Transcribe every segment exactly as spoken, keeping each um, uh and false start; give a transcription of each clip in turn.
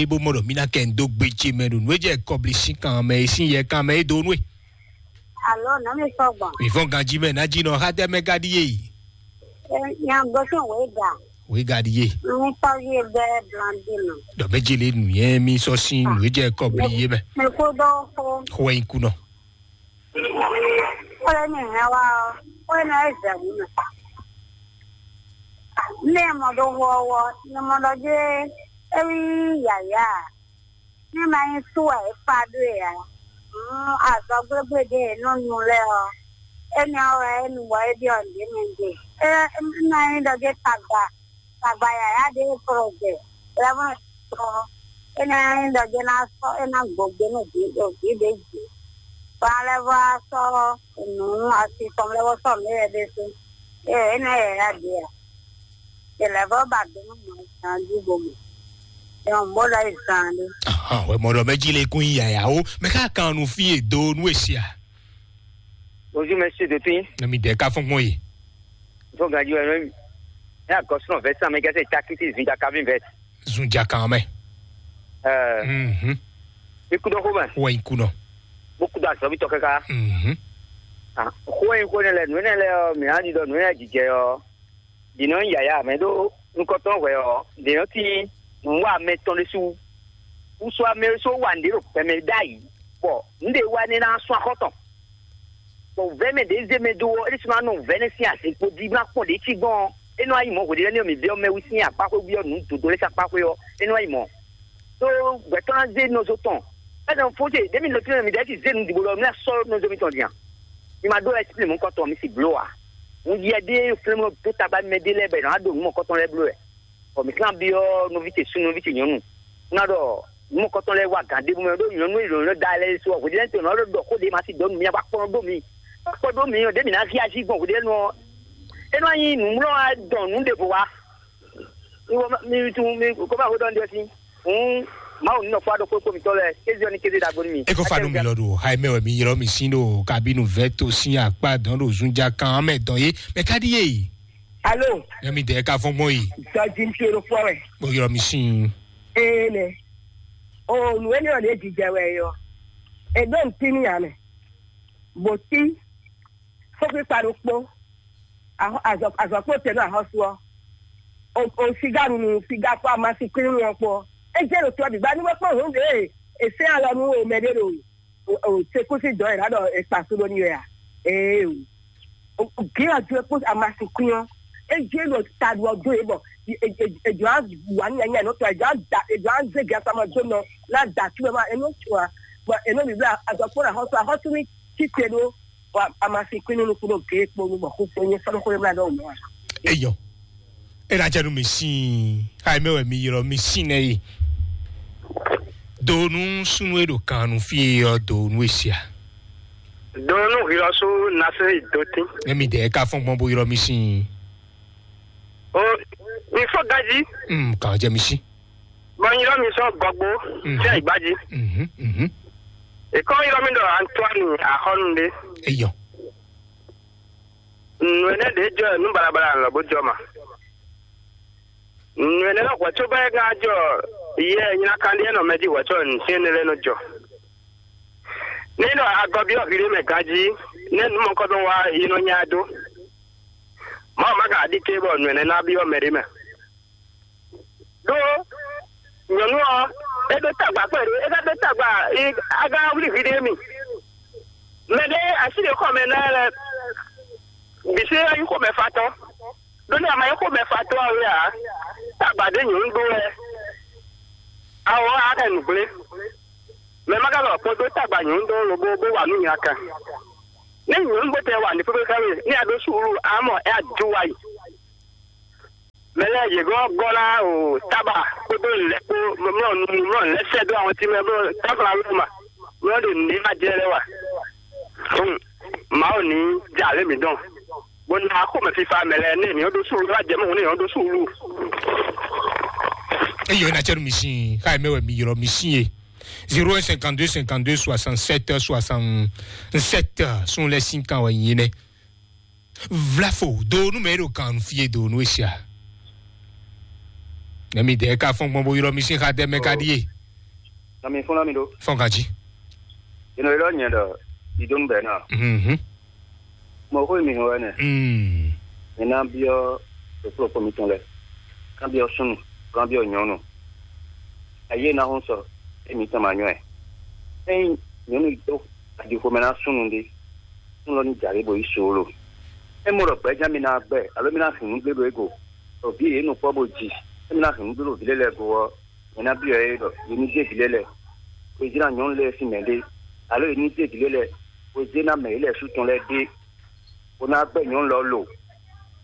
é bó mɔ ɖɔ mí ná kɛ ń dó gbe ce mɛ ɖo nǔ e jɛ kɔbli sín kan mɛ, e sín yɛ kan mɛ é dó nú e. Alo, nɔ mi sɔgbɔn. Mǐ fɔ́n ganjí mɛ ná jí nɔ xá tɛ́ mɛ ka ɖíe yi. Nya gosín wěga. Wěga ɖíe. Mi tɔ́ví e bɛ́ blandí nɔ. Ɖɔ mɛ jele nǔ yɛ mí sɔ́ sín nǔ e jɛ kɔbli yé mɛ. Mi kú dó xó. Xó wɛ nyí kú nɔ. Xó e mi hɛn wá ɔ́, xó e nɔ é zɛ wǔ mɛ. Ní ẹ mɔ ɖo wɔ ɔ́, ní mɔ ɖɔ jé é ví yǎyá. Ní ma nyí sú wɛ é fa ɖó e ǎ. Azɔ̌ gblégblédé e nɔ nu lɛ́ɛ ɔ́, énɛ́ ɔ́ wɛ é nu bɔ é ɖyɔ́ nǔɖé mɛ ɖe. É ná nyí ɖɔ jé tagba, tagba yǎyá ɖé e kplɔ́n jɛ, lɛ́vɔ́ tɔn, é ná nyí ɖɔ jé ná sɔ́, é ná gbɔ gbé nú vǐ ɖo vǐ ɖě jí. Bɔ alɛ́vɔ́ á sɔ́ nǔ asi tɔn lɛ́vɔ́ sɔ́ nǔ éyɛ́ ɖésú. Ée é ná yɛ yá ɖě ǎ. È lɛ̌ vɔ́ ba do nú mɔ zan jí bo mɔ. È wɔn bó lɔ yi zan ɖé. Ahan, wɛ mɔ ɖɔ mɛ jí lé kún yí yaya o. Mɛ ká kan nu fí e do nú e sia. Bonjour, monsieur Dotun. Nɔ mi dɛ ká fɔn gbɔn yi. Fo gaji wɛ mɛ. Ne agɔsɔn vɛ san mɛ gɛsɛ takiti zun jaka vin vɛ. Zun jaka mɛ. Ɛɛ, Mhm. Ikú dɔ xó mɛ. Wɛ ikú nɔ. Bó kú dɔ azɔbi tɔ kaka. Mhm. Ah, xó e xó ne lɛ, nǔ ne lɛ ɔ, mǐ á ɖi ɖɔ nǔ ne jijɛ ɔ. Dǐnɔ nyí yǎyá mɛ ɖó nukɔntɔn hwɛ ɔ́, dě nɔ tín nǔwa mɛ tɔn ɖésú. Wúsú amɛ ɖésú wa nǔɖé ɖo gbɛmɛ ɖ'ayǐ, bɔ nǔɖé wa nɛ́ ná sún axɔ́ tɔn. Bɔ vɛ̌ mɛ ɖě zé mɛ dó ɔ́, é ɖésú ná nɔ vɛ̌ nɛ́ sín azǐn kpo jí, ná kpɔ́n ɖě cí gbɔn ɔ́, é nɔ wá yi mɔ̌ hweɖé lɛ́ɛ ní ɔ́, mǐ byɔ́ mɛ wú sín akpáxwé byɔ́ nǔ dǒdó lɛ́ɛ sín akpáxwé ɔ́, é nɔ wá yi mɔ̌. Ɖó gbɛ̌tɔ́ ná zé nɔzo tɔn. Ɛ́nɔ fó ce ɖěmi nɔ tínú mi ɖɛɛ ti zé nu dǐbo ɖɔ mi ná sɔ́ nɔzo mitɔn din a? Mi ma ɖó ɛsipli mɔ̌kɔtɔn mi si bló a? Un yɛ ɖé flɛ́mlɔ dó tagba mɛ ɖé lɛ́ɛ bɔ è nǎ ɖo nǔ mɔ̌kɔtɔn lɛ́ɛ bló wɛ. Bɔ mǐ kán byɔ́ nɔví ce súnnu, nɔví ce nyɔ̌nu. Un ná ɖɔ nǔ mɔ̌kɔtɔn lɛ́ɛ wá gǎn ɖébú mɛ ɖó nyɔ̌nu e lɔ̌nlɔ́ da lɛ́ɛ su ɔ́, hweɖénu tɔn nɔ ɖɔ xó ɖé ma si dɔ nú mi a, bó akpɔ́n ɖó mi. Akpɔ́n ɖó mi ɔ́, ɖě mǐ ná hí ají gbɔn hweɖénu ɔ́. É nɔ nyí nǔmlɔ́ wá dɔn nǔ ɖěvo wá. Mi wɔ mi tunwun mi kó bá xó ɖɔ nɖɛ sín. Hǔn Mawu nínɔ fɔ aɖokpó kpó mitɔn lɛ kéze ɔ́ ní kéze ɖagbo nú mi. E kó fa nú mi lɔ ɖo ha e mɛ wɛ mi ylɔ́ mi sín ɖo kabinu vɛ́ to sín akpá dɔn ɖo zunja kan mɛ dɔn yé mɛ ká ɖíe. Alo, Nɛ mi dɛ ka fɔn gbɔn yi. Jɔji ń ṣe lóko rẹ̀. Mo ylɔ́ mi sín. Ee nɛ. O nù énɛ́ ɔ́ lě jijɛ wɛ yɔ. È ɖó ŋutí n'i ǎ mɛ. Bǒ tí fófíkpa ɖokpó. Azɔ̌kpó tɛ́ nú axɔ́sú ɔ́. O siga nunu siga kpó amasikwín nunu ɔ́ kpó. É jẹ́ ɖo tɔ́ bǐ gbá ní wọ́n kpɔ́n hǔn ɖě è sɛ́n alɔ nú mɛ ɖé ɖo sekúsi dɔ̌ è nǎ ɖɔ è kpa sú ɖó ní wɛ a? Ee o. Gěn ɔ́ jó é kpó amasikwín ɔ́. É jẹ́ ɖo ta ɖu ɔ́ dó yě bɔ èjò á wǎ nyanya nɔ tɔ èjò á da èjò á zé gɛ sama jó nɔ ná da tú ɛ ma é nɔ tún a. Bɔ é nɔ bǐ blá azɔ̌kpó axɔ́sú axɔ́sú ní títí ɖó. Wa amasikwín nínú kúrò kéé kponu bɔ kó kpó nyé sɔ́nù kó yé mla ɖɔ́ mɔ̌ a. Eyɔ. Ena jɛ nu mi sin. Ayi mɛ wɛ mi ylɔ mi sin nɛ yi. Donu sunu e ɖo kan nu fi yɔ donu esia. Donu hilɔsu nase idotin. Ne mi dɛ ka fɔn gbɔn bo ylɔ mi sin. O mi fɔ gaji. Mm, kan jɛ mi sin. Bɔ nyilɔ mi sɔ gɔgbo. Mhm. Fia igbaji. Mhm, mhm. Ekɔ nyilɔ mi ɖɔ Antoine Axɔnu ɖe. Eyɔ. Nù ɛnɛ ɖe jɔ nú balabala lɔ bó jɔ ma. Nù ɛnɛ lɔ hwɛ̌ có bá é gán jɔ yɛ nyina kan ɖíe nɔ mɛ jí hwɛ̌ có nǔ syɛ́n énɛ́ lɛ́ɛ nɔ jɔ. Ní ɖɔ agɔbí ɔ́ hwi ɖé mɛ ganjí, nɛ́ nǔ mɔ̌kɔ́dɔn wá yi nɔ nya ɛ dó. Mawu má gǎn aɖíké bɔ nǔ ɛnɛ ná byɔ́ mɛ ɖé mɛ. Ɖó nyɔ̌nu ɔ́, é ɖó tagba kpɛɖé, é ka ɖó tagba, aga wlí hwi ɖé mi. Mɛ ɖé así ɖě xɔ mɛ ná lɛ bǐ sí é nyí xomɛfatɔ́. Ɖó ní a ma nyí xomɛfatɔ́ ɔ́ wɛ ǎ, tagba ɖé nyɔ̌nu ɖó wɛ. Awɔ á kɛ nǔgblé. Mɛ ma ka lɔ kpɔ́n dó tagba nyɔ̌nu ɖó lobo bó wa nǔ nya kan. Ní nyɔ̌nu bó tɛ wa ní pépé ká wɛ, ní a ɖó suúlu, a mɔ é a dó wa yi. Mɛ lɛ́ɛ yě gɔ́ gɔ́ ná o tába kpódó lɛ̌ kpó mlɔ́ nu mlɔ́ lɛ́ sɛ́ dó àwọn tí mɛ bó táfla wé ma mlɔ́ ɖo nǔɖé ma jɛ lɛ́ wa. Fún Mawu ní jɛ alě mǐ dɔn. Bó ná xomɛ fífá mɛ lɛ́ɛ ní mǐ ɖó súlu, ná jɛ mɔ̌ ní mǐ ɖó súlu. Eyɔ na cɛnu mi sin, xa mɛ wɛ mi ylɔ mi sin ye. Zéro un cinquante-deux cinquante-deux soixante-sept soixante-sept, sun lɛ sin kan wɛ nyi nɛ. Vlafo do nu mɛ ɖo kan fie do nu esia. Nɛmi dɛ ka fɔn gbɔn bo ylɔ mi sín xa dɛ mɛ ka ɖíe. Nɔ mi fún nɔ mi ɖó. Fɔn ganji. Inɔ ylɔ nyɛ ɖɔ idonu bɛ na. Mhm. Mɔ xó mi hɔn wɛ nɛ. Mm. Mi ná byɔ ɖokplɔkpɔ mitɔn lɛ. Ná byɔ súnnu, ná byɔ nyɔnu. Ayé ná hún sɔ, émi tɔn ma nyɔ ɛ. Ényí nyɔnu yi dó aɖixomɛ ná súnnu ɖé, súnnu lɔ ní jǎ lé bo yí suúlu. É mɔ ɖɔ gbɛ̌ján mi ná gbɛ, alo mi ná hɛn nǔ gbé ɖo égo, ɖo vǐ yě nukpɔ́ bó ji, é mi ná hɛn nǔ gbé ɖo vǐ lɛ́ɛ lɛ́ɛ go ɔ́, nyɛ ná byɔ́ yě ɖɔ yě ní zé vǐ lɛ́ɛ lɛ́ɛ, bó yi zé ná nyɔ̌nu lɛ́ɛ sín mɛ ɖé, alo yě ní zé vǐ lɛ́ɛ lɛ́ɛ, bó yi zé ná mɛ yě lɛ́ɛ sú tɔn lɛ́ɛ ɖé, bó ná gbɛ́ nyɔ̌nu lɔ lo,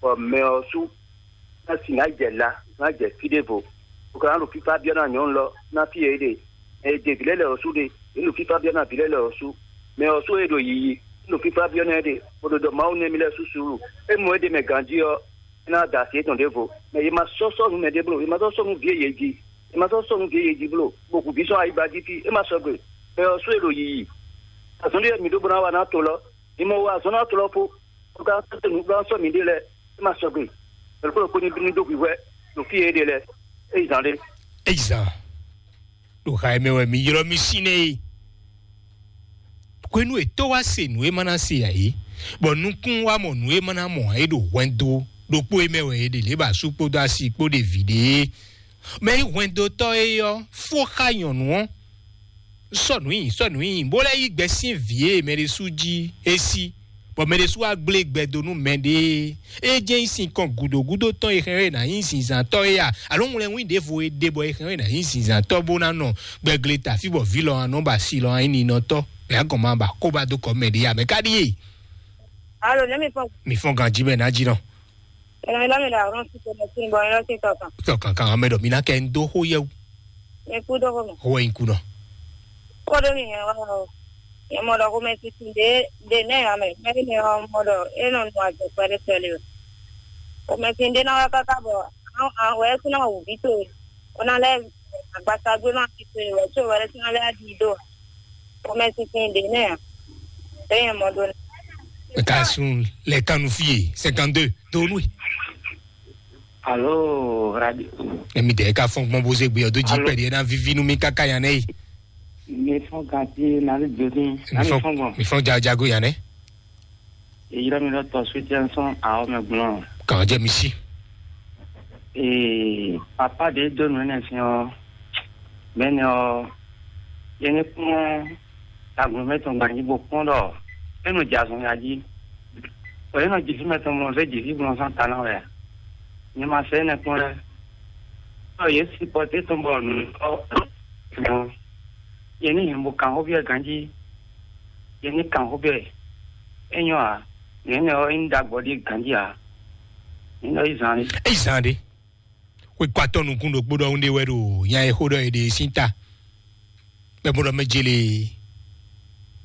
bɔ mɛ ɔ́ sú ná si ná jɛ la, ná jɛ fí ɖěvo, bó ka ná ɖo fífá byɔ́ ná nyɔ̌nu lɔ ná fí e é ɖe. Ɛ ɖe vǐ lɛ́ɛ lɛ́ɛ ɔ́ sú ɖe, yě ɖo fífá byɔ́ ná vǐ lɛ́ɛ lɛ́ɛ ɔ́ sú. Mɛ ɔ́ sú e ɖo yiyi, é ɖo fífá byɔ́ ná ɛ ɖe, bó ɖo ɖɔ Mawu nɛ́ mì lɛ́ɛ sú suúlu. É mɔ é ɖe mɛ ganjí ɔ́, é ná da asi étɔn ɖěvo. Mɛ yě ma sɔ́ sɔ́ nú mɛɖé bló, yě ma sɔ́ sɔ́ nú vǐ e yě ji, yě ma sɔ́ sɔ́ nú vǐ e yě ji bló, bó hu vǐ sɔ́ ayigba jí fí, é ma sɔgbe. Mɛ ɔ́ sú e ɖo yiyi, azɔn ɖé wɛ mǐ ɖó bó ná wa ná to lɔ, mǐ mɔ wa azɔn ná to lɔ fó, bó ka sɔ́ nǔ bó ná sɔ́ mǐɖée lɛ́ɛ, é ma sɔgbe. Mɛ ɖokpó ɖokpó ní bínú dó hwǐhwɛ́ ɖo fí e é ɖe lɛ́ɛ, é yi zǎn ɖé. Eyi zan ɖo xa mɛ wɛ mi ylɔ́ mi sín nɛ e. Hwenu e tó wá se nǔ e ma ná se ǎ é, bɔ nukún wá mɔ nǔ e ma ná mɔ ǎ é ɖo hwɛndo ɖokpó e mɛ wɛ è ɖe lě bɔ asú kpódó asi kpó ɖe vǐ ɖe é. Mɛ e nyí hwɛndotɔ́ é ɔ́ fó xá nyɔ̌nu ɔ́, sɔ́ nǔ nyi, sɔ́ nǔ nyi, bó lɛ́ yí gbɛ sín vǐ e mɛ ɖésú jí é sí, bɔ mɛ ɖésú wá gblé gbɛ dó nú mɛɖée. É jɛ́n nyí sinkɔn gǔdo gúdo tɔn e hɛn wɛ è nǎ nyí zinzǎntɔ́ é a? Alo wlɛnwín ɖěvo e ɖe bɔ è hɛn wɛ è nǎ nyí zinzǎntɔ́ bó ná nɔ gbɛgle tafí bɔ vǐ lɔ ɔ́ nɔ ba si lɔ ɔ́ nyí ninɔtɔ́? Mɛ agɔn ma ba kó ba dó kɔ mɛ ɖě a? Mɛ ka ɖíe? Alo, ne mi fɔ. Mi fɔn ganjí mɛ ná jí nɔ. Ɛnɛ mi lɔ mi ɖo ahɔn si tɔmɛ si bɔ mi lɔ si tɔkan. Tɔkan kan mɛ ɖɔ mi ná kɛ ń dó xó yɛwu. Mi kú dó xó mɛ. Xó wɛ nyí kú nɔ. Kó ɖó mi hɛn wá o. Yɛ mɔ ɖɔ xomɛ titi ɖé ɖé nɛ ame mɛ ní mɛ ɔ́ mɔ ɖɔ é nɔ nu azɔ̌ kpɛɖé kpɛɖé o. Xomɛ titi ɖé ná wá káká bɔ àwọn wɛ é kún ná wǔ ví towe. Ó ná lɛ́ agbasagbé má fi towe wɛ có wɛ é kún ná lɛ́ ɖi dó. Xomɛ titi ɖé nɛ ǎ. É nyɛ mɔ ɖó nɛ. Ka sun lɛ kanu fie cinquante-deux donu. Alo radio. Emi de ka fɔn gbɔn bo ze gbe ɔdo ji pɛdi ena vivi nu mi kaka yan nɛ yi. Mi fɔn gati na le jodi. Na mi fɔn gbɔn. Mi fɔn jago yan nɛ. Eyira mi lɔ tɔ soutien sɔn awɔ mɛ gblɔn. Kàn jẹ mi si. Ee, papa de do nu ne fi ɔ. Mɛ ne ɔ. Yẹn ni kpɔn. Agun mɛ tɔn gbanyi bo kpɔn ɖɔ. Enu jazɔn ya ji. Ɔ yẹn nɔ jisi mɛ tɔn mɔ fɛ jisi gbɔn sɔn ta na wɛ. Nyɛ ma sɛ ne kpɔn lɛ. Ɔ yɛ si pɔte tɔn bɔ nu ɔ. Yɛ ni yɛn bo kan xɔ biɛ ganji. Yɛ ni kan xɔ biɛ. Enyɔ a. Yɛn ne ɔ in dagbɔ di ganji a. Yɛn nɔ yi zan ni. Eyi zan de. Xwe kɔ atɔ nukun ɖokpó ɖɔhun ɖe wɛ ɖo nya e xó ɖɔ e ɖe sín ta. Bɛ bó ɖɔ mɛ jele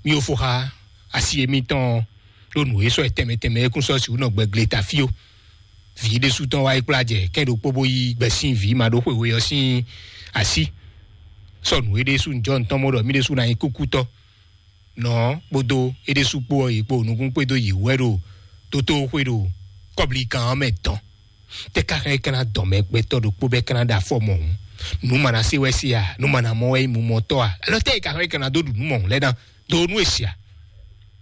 mi yo fo xa asi emitɔn ɖo nǔ e sɔ tɛmɛ tɛmɛ e kún sɔ si wú nɔ gbɛ gle ta fí o. Vǐ ɖésú tɔn wá yi kplá jɛ kɛn ɖokpó bó yí gbɛ sín vǐ ma ɖó xwe we ɔ́ sín así. Sɔ nǔ e ɖésú njɔ ntɔn mɔ ɖɔ mí ɖésú ná nyí kúkútɔ. Nɔ kpódó é ɖésú kpó ɔ́ yi kpó nukún kpédó yi wɛ ɖo tótó xwé ɖo kɔbli kan ɔ́ mɛ dɔn. Tɛ ka xɛ kana dɔn mɛ gbɛtɔ ɖokpó bɛ kana ɖa fɔ mɔ hǔn? Nu mana se wɛ se a? Nu mana mɔ wɛ mu mɔtɔ a? Alɔ tɛ ka xɛ kana do ɖu nu mɔ hǔn lɛ na do nu esi a?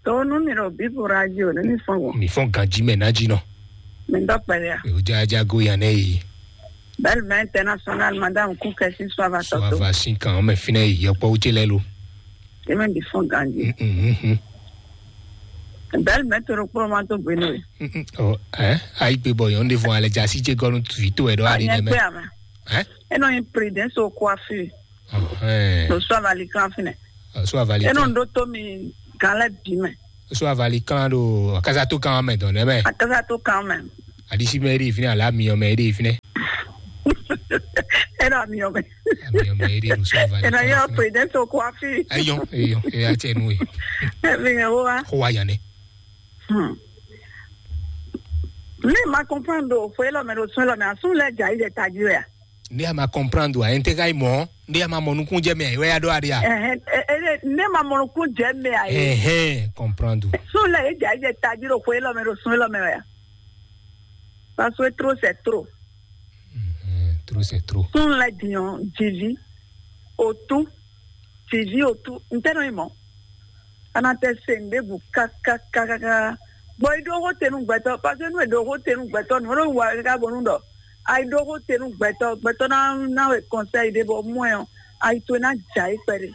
To nu mi ɖo bibu radio ne mi fɔn wɔ. Mi fɔn ganji mɛ na ji nɔ. Mi dɔ pɛlɛ a? O ja ja go yan nɛ yi. Belle mɛ international madame kukɛ si sɔ ava tɔ to. Sɔ ava si kan mɛ finɛ yi yɔkpɔ wutse lɛ lo. Eme bi fɔn ganji. Mhm. Belle mɛ to ɖokpó ma to gbenu ye. Ɔ ɛ ayi gbe bɔ yɔn de fɔ alɛ jasi je gɔnu vi to ɛ dɔ ali nɛ mɛ. Ɛ enɔ yin prudence au coiffure. Ɔhɛn. To sɔ avali kan finɛ. Sɔ avali kan. Enɔ ndo to mi gan lɛ bi mɛ. Sɔ avali kan do akasato kan mɛ dɔn nɛ mɛ. Akasato kan mɛ. Adisi mɛ eri finɛ ala miyɔn mɛ eri finɛ. Enɔ miyɔn mɛ. Miyɔn mɛ eri do sɔ avali kan. Enɔ yɔ prudence au coiffure. Eyɔn eyɔn eya tɛ nu ye. Emi yɛ wo wa. Ko wa yan ne. Hmm. Ne ma comprendre o fo elɔ mɛ ɖo sun elɔ mɛ asun lɛ dza yi ɖe taji wɛ a? Ne a ma comprendre a yɛn tɛ ka yi mɔ ne a ma mɔ nukun jɛ mɛ a yi wɛ ya ɖo aɖe a? Ɛhɛn, e- e- ne ma mɔ nukun jɛ mɛ a yi. Ɛhɛn, comprendre. Sun lɛ yi dza yi ɖe taji ɖo fo elɔ mɛ ɖo sun elɔ mɛ wɛ a? Parce que trop c'est trop. Mhm. Nous c'est trop. Tún lɛ din ɔ́, jìví, òtú, jìví, òtú, ntɛ́nɔ yi mɔ̌. A nɔ tɛ se nǔ ɖěbǔ kákákákáká. Bɔ yi ɖó xó te nú gbɛtɔ́, parce que nú è ɖǒ xó te nú gbɛtɔ́, nǔ e ɖo wa káká bónú ɖɔ a yi ɖó xó te nú gbɛtɔ́, gbɛtɔ́ ná ná wɛ kɔnsɛ́yi ɖé bɔ mɔ ɛ ɔ́, a yi towe ná jɛ ayǐ kpɛɖé.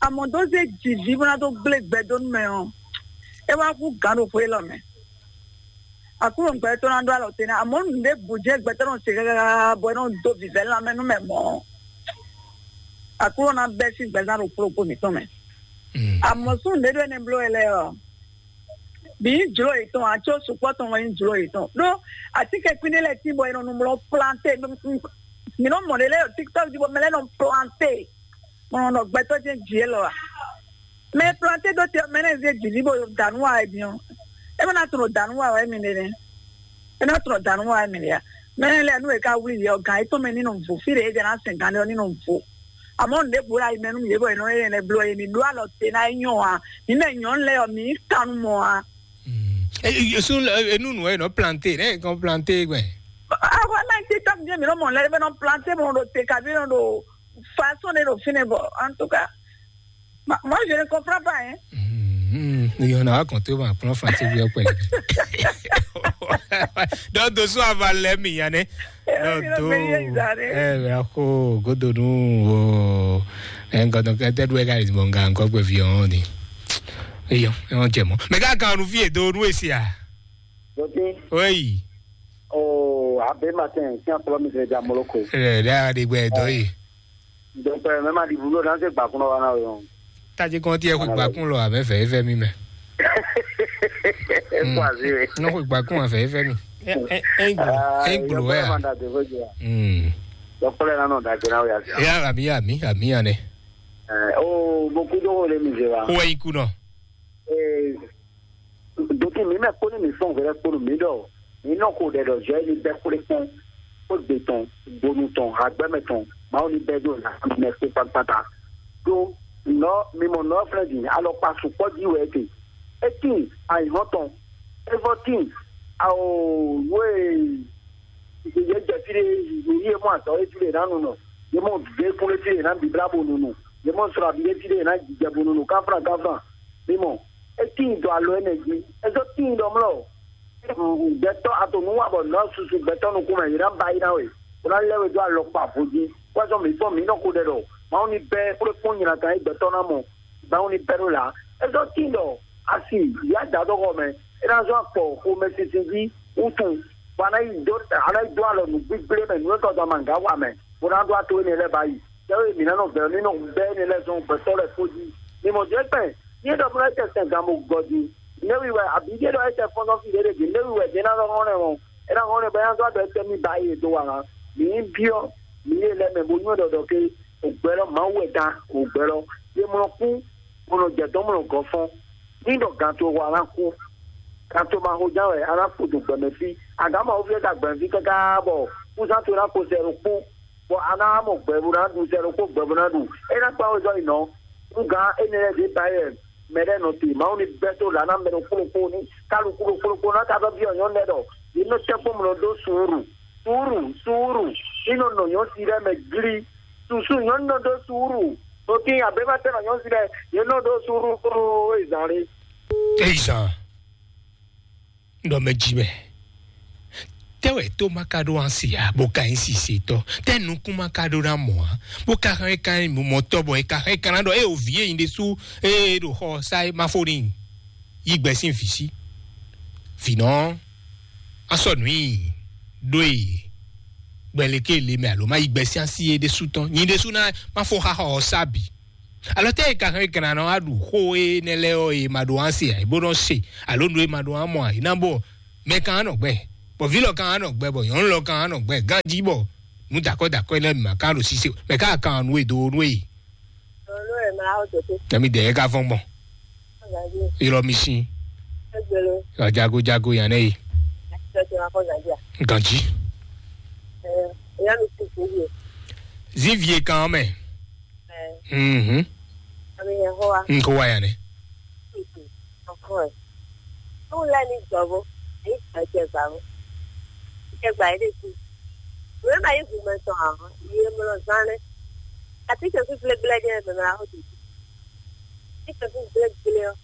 Amɔ̌ dó zé jìví bó ná dó gblé gbɛ dó nú mɛ ɔ́, é wá kú gǎn ɖo xwé élɔ́ mɛ. Aklúnɔ gbɛtɔ́ ná ɖó alɔ te ná, amɔ̌ nǔɖé bǔ jɛ gbɛtɔ́ nɔ se káká bɔ é nɔ dó vǐvɛ́ lanmɛ nú mɛ mɔ̌. Aklúnɔ ná bɛ́ sín gbɛzán ɖo kplɔ́kpó mǐtɔn mɛ. Amɔ̌ sún nǔɖé ɖó énɛ́ bló wɛ lɛ́ɛ ɔ́, mǐ nyí jlǒ yětɔn ǎ, có sukpɔ́ tɔn wɛ nyí jlǒ yětɔn. Ɖó atínkɛnkwín ɖé lɛ́ɛ tín bɔ è nɔ nu mlɔ planté. Mǐ nɔ mɔ ɖě lɛ́ɛ ɖo TikTok jí bɔ mɛ lɛ́ɛ nɔ planté. Mɔ nɔ gbɛtɔ́ jɛ́n jǐ élɔ́ a? Mɛ e planté dó te ɔ́, mɛ nɛ́ zé jǐví bó da nǔ wa wɛ din ɔ́, é má ná tunwun ɖo da nǔ wa wɛ émí ɖe nɛ́. É ná tunwun ɖo da nǔ wa wɛ émí ɖe a? Mɛ nɛ́ lɛ́ɛ nú è ka wlí yě ɔ́, gǎn yětɔn mɛ ní nɔ vo, fí ɖě é jɛ ná sɛn gǎn ɖé ɔ́ ní nɔ vo. Amɔ̌ nǔɖé bǔ ɖo ayi mɛ nú mǐ é bɔ è nɔ é nɛ́ bló é, mǐ ɖó alɔ te ná é nyɔ́ ǎ. Mǐ mɛ nyɔ̌nu lɛ́ɛ ɔ́, mǐ nyí kannumɔ ǎ. Sun enunu ɛ nɔ planté, ne kɔn planté gbɛ. Awa na ti tɔm jɛ mi nɔ mɔ lɛ bɛ nɔ planté mo ɖo te kabi nɔ ɖo façon de ɖo fine bɔ en tout cas moi je ne comprends pas hein. Yɔn na wa kɔn tó ma kplɔn flansi bi ɔkpɛ. Dɔ do so ava lɛ mi yan ne. Dɔ do ɛ bɛ ko godo nu o. Ɛ nkɔtɔ kɛtɛ du ɛ ka yi mɔ nga nkɔ gbɛ fi ɔn ni. Eyɔ ɛ ɔn jɛ mɔ mɛ ka kan nu fi edo nu esi a. Dɔtí. Oyi. Oo abe matin kí n kplɔ mi sɛ ja moloko. Ɛ dɛ a de gbɛ dɔ yi. Donc mɛ ma di bulo na se gbakun wa na yɔ. Tadzi kɔn tiɛ xwe gbakun lɔ amɛ fɛ efɛ mi mɛ. Ekuazi we. Nɔ xwe gbakun afɛ efɛ mi. Ɛ ɛ ɛ gblo wɛ a. Dɔkpɛlɛ na nɔ dagbe na o ya. Ya ami ami ami anɛ. Oo mo kudo wo le mi ze wa. Wɛ iku nɔ. Ee, doki mi mɛ kpó ní mi fɔn hwɛɖɛ kpó nú mi ɖɔ mi nɔ ko ɖɛ ɖɔ zɔ ní bɛ kplé kpɔn kó gbe tɔn gbonu tɔn agbɛmɛ tɔn mawu ní bɛ ɖo nǎ mɛ kpó kpákpátá. Ɖó nɔ mi mɔ nɔ flɛ din alɔkpa sukpɔ jí wɛ te. Etin ayihɔn tɔn evɔ tin awo wo e yɛ jɛ fi ɖe yi yɛ mɔ azɔ e fi ɖe na nu nɔ yɛ mɔ ve kplé fi ɖe na bibla bo nu nu yɛ mɔ srɔ abi ɖe fi ɖe na jijɛ bo nu nu kafra kafra. Mi mɔ, é tíin dɔ alɔ énɛ́ jí, é zɔ́ tíin ɖɔ mlɔ́. Gbɛtɔ́ a to nǔ wa bɔ nɔ́ susu gbɛtɔ́ nukún mɛ, yě ná ba yí ná we, bó ná lɛ́ we dó alɔkpa vo jí. Wɛ́zɔ́ mǐtɔn mǐ nɔ ko ɖɛ ɖɔ Mawu ní bɛ́ xwlé kpɔ́n nyi natan e gbɛtɔ́ ná mɔ, Mawu ní bɛ́ ɖó là. É zɔ́ tíin ɖɔ asi yǎ da dó xɔ mɛ, é ná zɔ́ akpɔ xomɛsinsin jí wútu, bɔ a ná yi dó a ná yi dó alɔ nǔgbígblé mɛ, nǔ e tɔ́ dɔn amǎga wa mɛ, bó ná ɖó ato énɛ́ lɛ́ɛ ba yi. Tɛ́wé mǐ ná nɔ gbɛ̌ ní nɔ bɛ́ énɛ́ lɛ́ɛ zɔn gbɛtɔ́ lɛ́ɛ fó jí. Mi mɔ jɛ́ kpɛn, ní é ɖɔ bó ná jɛ sɛn gan bó gɔ din. Nɛ́ wi wɛ abǐ ɖé ɖɔ é jɛ fɔ́nzɔ́n fí ɖé ɖé din, nɛ́ wi wɛ din é ná nɔ hɔn lɛ́ wɔn. É ná hɔn lɛ́ bɔ é ná zɔ́ ɖɔ é tɛ́ mì ba é do wa ná. Mǐ byɔ́ mǐ é lɛ́ mɛ bó nywɛ́ ɖɔ ɖɔ ké ògbɛ́ lɔ Mawu wɛ dan ògbɛ́ lɔ. Yě mlɔ kú, bó nɔ jɛ dɔn mlɔ gɔ́ fɔ́n. Ní ɖɔ gan to wa ná kú. Gan to ma xo ján wɛ a ná kpo do gbɛmɛ fí. Agǎn Mawu fí é ka gbɛmɛ fí káká bɔ kúzán to ná kpo sɛ ɖokpó. Bɔ a ná mɔ gbɛ bó ná ɖu sɛ ɖokpó gbɛ bó ná ɖu. É ná kpán wezɔ́ yi nɔ. Nú gǎn énɛ́ lɛ́ɛ ɖě ba yɛ mɛ lɛ́ɛ nɔ te. Mawu ní bɛ́ tó lǎ ná mɛ ɖokpó ɖokpó ní kálukú ɖokpó ɖokpó ná ka vɛ́ byɔ́ nyɔ̌nu lɛ́ɛ ɖɔ yě nɔ tɛ́nkpɔ́n mlɔ ɖó suúru. Suúru, suúru, ní nɔ nɔ nyɔ̌nu si lɛ́ɛ mɛ glí. Susu nyɔ̌nu nɔ ɖó suúru. Nɔ tín abě ma tɛ́ nɔ nyɔ̌nu si lɛ́ɛ, yě nɔ ɖó suúru. Ezǎn lé. Ezǎn. Ɖɔ mɛ jí mɛ. Tɛ́ wɛ tó ma ka ɖó ansi ǎ, bó ka nyí sisetɔ́? Tɛ́ nukún ma ka ɖó ná mɔ ǎ, bó ka hɛn ka nyí mɔtɔ́ bɔ è ka hɛn ka ná ɖɔ ée o vǐ e nyi ɖésú ée ɖo xɔ sa é ma fó n'i? Yí gbɛ sín vǐ sí. Vǐnɔ, a sɔ nǔ i ɖó e gbɛleke le mɛ alo ma yí gbɛ sín asi é ɖésú tɔn. Nyi ɖésú ná ma fó xaxɔ ɔ́ sá bǐ. Alɔ tɛ e ka hɛn kana nɔ aɖu xó e nɛ lɛ ɔ e ma ɖo an se ɛ bó nɔ se alo nu e ma ɖo an mɔ ɛ na bɔ mɛ kan anɔ gbɛ bɔ vi lɔ kan anɔ gbɛ bɔ nyɔnu lɔ kan anɔ gbɛ ganji bɔ nu dakɔ dakɔ lɛ ma kan ɖo sise mɛ ka kan nu e do nu e. Nyami dɛ e ka fɔn gbɔn. Ylɔ mi si. Jago jago yan ne yi. Ganji. Zivie kan mɛ. Mhm. Nko wa ya ne. Nko la ni gbɔ bo. Ayi gbɔ jɛ gba bo. Jɛ gba yi de ku. Nǔ e ma nyí hǔmɛ tɔn ǎ, yi e mlɔ zán nɛ́. Atínkɛnkwín gblégblé jɛ́n mɛ mɛ ná xo dǒ. Atínkɛnkwín gblégblé ɔ́,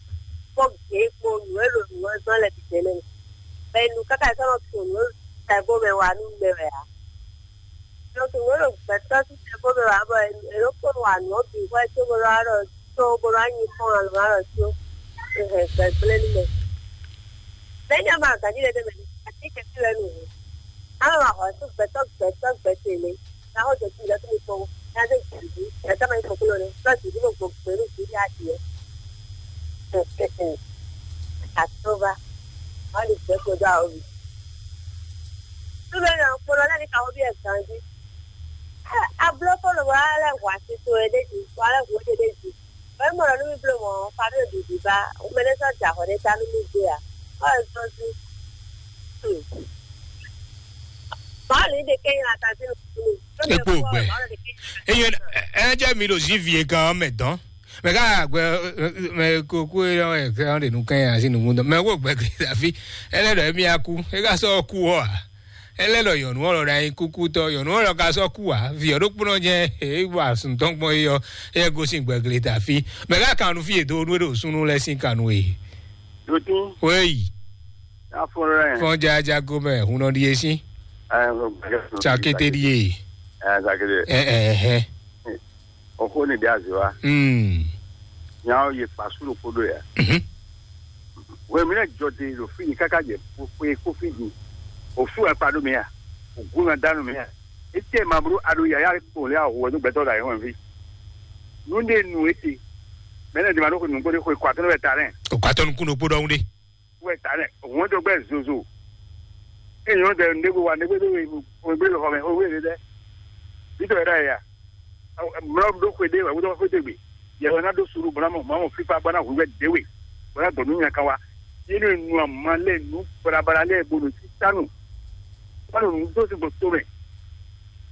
kpɔ́ gěgbo nǔ e ɖo nǔ ɔ́ zɔ́n lɛ́ɛ bǐ jɛ́n nɛ́. Bɔ è nu káká yi sɔ́ nɔ tunwun nǔ e ɖo tɛgbó mɛ wa nú mɛ wɛ ǎ. Nɔ tunwun nǔ e ɖo gbɛ̌tɔ́ sín tɛgbó mɛ wa bɔ è nɔ kpɔ́n wa nǔ ɔ́ bǐ hwɛ có bó nɔ wá ɖɔ có bó nɔ wá nyi kpɔ́n alɔ wá ɖɔ có. È hɛn gbɛgblé nú mɛ. Bɛ́ nyá ma gǎn jí ɖé ɖé mɛ, atínkɛnkwín lɛ́ɛ nu hǔn. Á nɔ wa hɔ̌ sú gbɛtɔ́ gbɛtɔ́ gbɛtɔ́ lé. Ná xɔ jɛ kí lɛ́ kí mi kpɔ́n. Ná dé jǐ jí. Ɛ tá ma nyí kpɔ́n kúló nɛ. Sɔ́ jǐ jí mo gbɔ gbɛ nú jǐ jí á jǐ ɛ. Àtúnba. Wọ́n lè gbẹ́ kó dó àwọn mi. Súnmọ́ náà kpɔ́n lọ́lá ní káwọ́ bí ẹ̀ gan jí. Abló kó lò wá lẹ́ hwà sí tó ẹ dé jì. Wá lẹ́ hwà ó dé jì. Wɛ mɔ nɔ nú mi bló mɔ, famille ɖuɖu ba, wumɛnɛ sɔ́ da xɔ ɖé ta nú mi gbé a? Ɔ sɔ́ sí. Báwo ní ɖe kẹ́yìn ata sí nù? Epo gbɛ. Eyo, ɛ jẹ́ mi ɖo zivi e gan mɛ dɔn. Mɛ ká gbɛ, mɛ kókó e lɔ ɛ kɛ ɔn ɖe nu kɛ asi nu mu dɔn. Mɛ wo gbɛ gbe afi. Ele ɖɔ emi aku. E ka sɔ ku wɔ a? Ele ɖɔ yɔnu ɔlɔ ɖe anyi kuku tɔ. Yɔnu ɔlɔ ka sɔ ku a? Vi ɔɖo kpɔnɔ jɛ. E wa sun tɔn gbɔn e yɔ. E gosin gbɛgble ta fi. Mɛ ká kanu fi e do nu e ɖo sunu lɛ sin kanu e. Dotin. Weyi. Afɔlɛ. Fɔn jaja gomɛ. Hunɔ ɖi e sin. Ɛ, gbɛgɛ. Tsakete ɖi e. Ɛ, tsakete. Ɛ, ɛ, ɛ. Ọkọ ní ìdí àzíwá. Mm. Nyà ó yẹ pàṣẹ ló kpódó yà. Mhm. Wẹ́n mi lẹ́ jọ de ló fi yìí káká jẹ kó kó fi yìí. Òfin wà padó mi à. Ògún náà dánú mi à. Etí ẹ̀ máa burú adó yàyà kò lé àwọ̀ ọdún gbẹ́tọ́ dà yẹn wọ̀n fi. Núndé nu etí. Mẹ́lẹ̀ ní ma ló kó nùgbó dé kó ikọ̀ àtúnú bẹ̀ ta rẹ̀. Òkú atọ́nukún ló kpódó ọ̀hún dé. Wɛ ta lɛ, òun tó gbɛ zozo. Èyí wọn tẹ ndégbé wa ndégbé tó wé wé lọ xɔmɛ owó èlé lɛ. Títọ́ yẹn dá yà. Mlɔ ɖó xwé dé wɛ wúdɔ xwé dé gbé. Yẹ wɛ ná dó suru bɔlá mɔ mɔ fífa bɔlá hu wɛ dé wé. Bɔlá gbɔ̀nú nya kan wa. Yé ní nu àmà lɛ nu balabala lɛ gbɔdɔ sí tánu. Wọn nù dó sí gbòtó mɛ.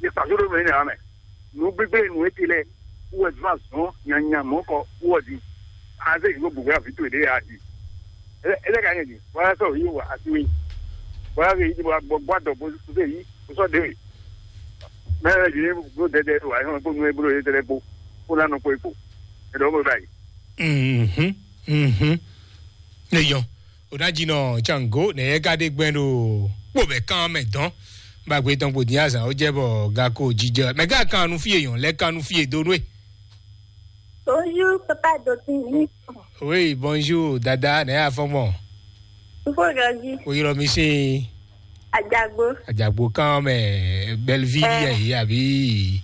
Yẹ pàṣẹ ló mẹ ní àwọn mɛ. Nǔ gbígbé nǔ etí lɛ wɛ zɔn azɔn nyanya mɔkɔ wɔ di. Aze yi gbogbo ya vitu ede ya di. Ele ka nye di. Wala sɔ yi wa asi wi. Wala ke yi di wa gbɔ gbɔ dɔ bo se yi. Sɔ de wi. Mɛ yi ni bo dede wa yi ko nu e bro ye tele bo. Ko na no ko iko. Edo mo bai. Mhm. Mhm. Ne yɔn. O ná jinɔ tsango nɛ yɛ ka ɖe gbɛn ɖo kpó bɛ kán mɛ dɔn. Bagbe tɔn kpo dín azan ó jẹ́ bɔ gako jíjɛ mɛ gá kan nu fíye yɔn lɛ kan nu fíye dó nú ɛ. Bonjour, papa Dotin. Oui, bonjour dada, nɛ yà fɔn mɔ. Fúnfún ìrọ̀jì. O yọrọ mi sí. Àjàgbó. Àjàgbó kan mɛ Belleville yɛ yìí àbí.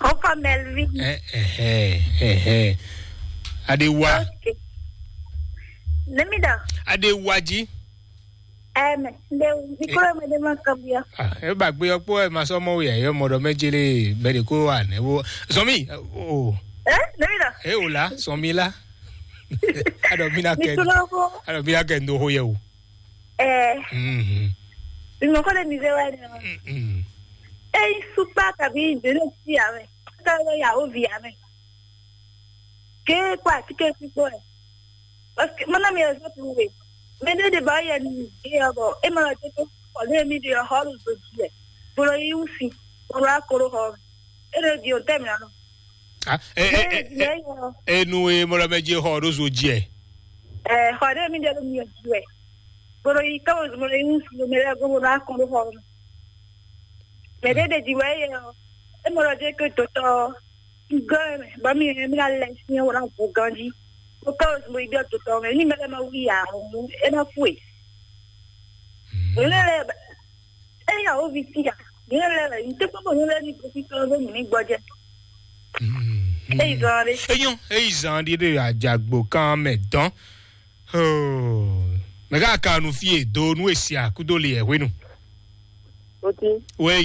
Ó kọ́ Melvin. Ɛ ɛ ɛ ɛ. Adewa. Ok. Nemi dɔ. Adewa jí. Ɛmɛ, nde mikro mɛ de ma kɔbiɔ. Ah, e ba gbe ɔkpɔ ɛ ma sɔ mɔ ya yɔ mɔ dɔ mɛ jele bɛ de ko wa ne wo. Zɔmi o. Eh, nemi dɔ. E o la, zɔmi la. Adɔ mi na kɛ. Mikro ko. Adɔ mi na kɛ ndo ho yɛ o. Eh. Mhm. Mimɔ ko de mi ve wa ne. Mhm. E sukpa kabi de ne ti ame. Ka ya o vi ame. Ke kpa ti ke ti ko. Parce que mana mi ezo tu we. Mɛ ɖé ɖe ba yɛ ni ɖe ɔbɔ e ma ɖe to kɔ ɖe mi ɖe xɔ ɖo zo dzi lɛ. Bolo yi wusi. Bolo akoro xɔ. E ɖe di o tɛ mi anɔ. Ah, eh, eh, eh, eh, eh, enu e mɔlɔ mɛ je xɔ ɖo zo dzi ɛ. Eh, xɔ ɖe mi ɖe ɖo mi dzi wɛ. Bolo yi kawo bolo yi wusi bolo yi akoro xɔ. Mɛ ɖé ɖe di wɛ yɛ. E mɔlɔ je ke dotɔ. Gɔn mɛ ba mi mi la lɛ si wala bo ganji. Ko kawo mo ibi dotɔ mɛ ni mɛ ma wi ya. E na fue. Lele. Eya wo vi tia. Yẹn lɛ lɛ n tɛ kpɔkpɔ yẹn lɛ ni gosi tɔ lɛ mi ni gbɔjɛ. Eyi zɔn de. Eyɔn eyi zan ɖi ɖe adzagbo kan mɛ dɔn. Mɛ ká kanu fie do nu esi akudo le ɛ hwenu. Oti. Wɛ